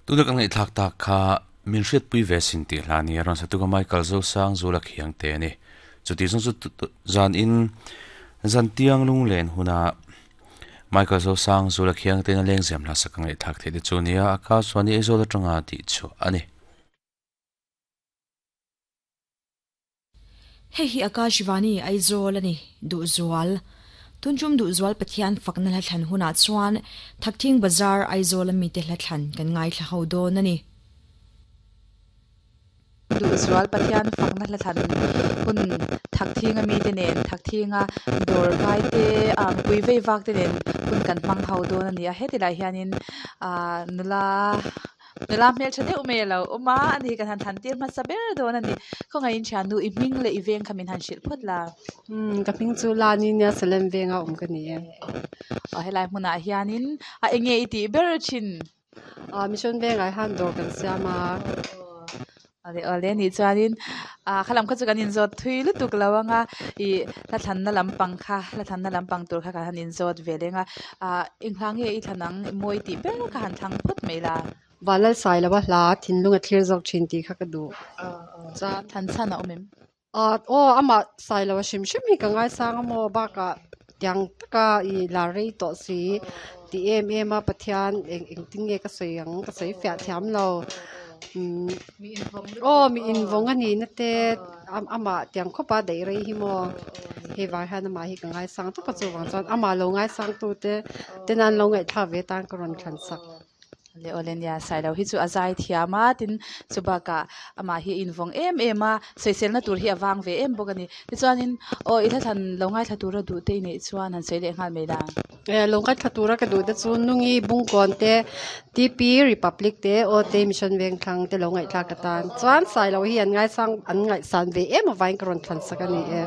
Tuna kan ngaihthlak tak kha min hriatpui ve sin tih hla nia rawn satuka Michael Zosang Zula Khiang te a ni. Chuti zawng chu zan in zan tiang lunglen huna Michael Zosang Zula Khiang te na lengzem hla sak ka ngaihthlak theih te chu nia a ka chuan i Aizawl atanga tih chhuah a ni. Hei hi Akashvani Aizawl a ni, Duhzual. Tuntum Duhzual Pathian fakna hla thlan hunah chuan Thakthing Bazar Aizawl a mite hla thlan kan ngaithla ho dawn a ni. Duhzual Pathian fakna hla thlan hun Thakthing a mite nen Thakthing a dawr vai te ah mipui vei vak te nen hun kan hmang ho dawn a ni a, heti lai hianin ah nula Nula hmeltha deuh mai a lo awm a, ani hi kan han thlan tir hmasa ber dawn a ni. Khawngaihin thiannu i hming leh i veng kha min han hrilh phawt la. Umm ka hming chu Lani nia Salem venga awm ka ni e. Aw helai hmunah hianin a enge i tih ber thin? Aw mission vengah hian dawr kan siam a. Awle awle nih chuanin ah kha lam kha chu kan inzawt thui lutuk lo ang a ih hla thlanna lampang kha hla thlanna lampang tur kha kan han inzawt ve leng a ah eng hla nge i thlan ang mawi tih ber kha han thlang phawt mai la. Vanlalsai lova hla thinlung a thlir zawk thin tih kha ka duh. Chuan thlan chhan a awm em? Ah aw amah sai lo a hrim hrim hi ka ngaisang a maw bakah tiang taka i la rei tawh si tih em em a Pathian eng engtin nge ka sawi ang ka sawi fiah thiam lo umm aw mi invawng a nihna te amah tiang khawpa daih rei hi maw hei vang hian amah hi ka ngaisang tawp a chuvang chuan amah lo ngaisang tute ten an lo ngaihthlak ve tan ka rawn thlan sak. Leh aw le nia, Sailo hi chu a zai thiam a, tin chu bakah amah hi a invawng em em a, sawiselna tur hi a vang ve em bawk a ni. Tichuanin aw i hla thlan lo ngaithla tura duh te i neih chuan han sawi leh nghal mai la. Eh lo ngaithla tura ka duh te chu Nungi Bungkawn te, TP Republic te, aw te Mission Vengthlang te lo ngaihthlak atan chuan Sailo hi an ngaisang an ngaihsan ve em avangin ka rawn thlan sak a ni e.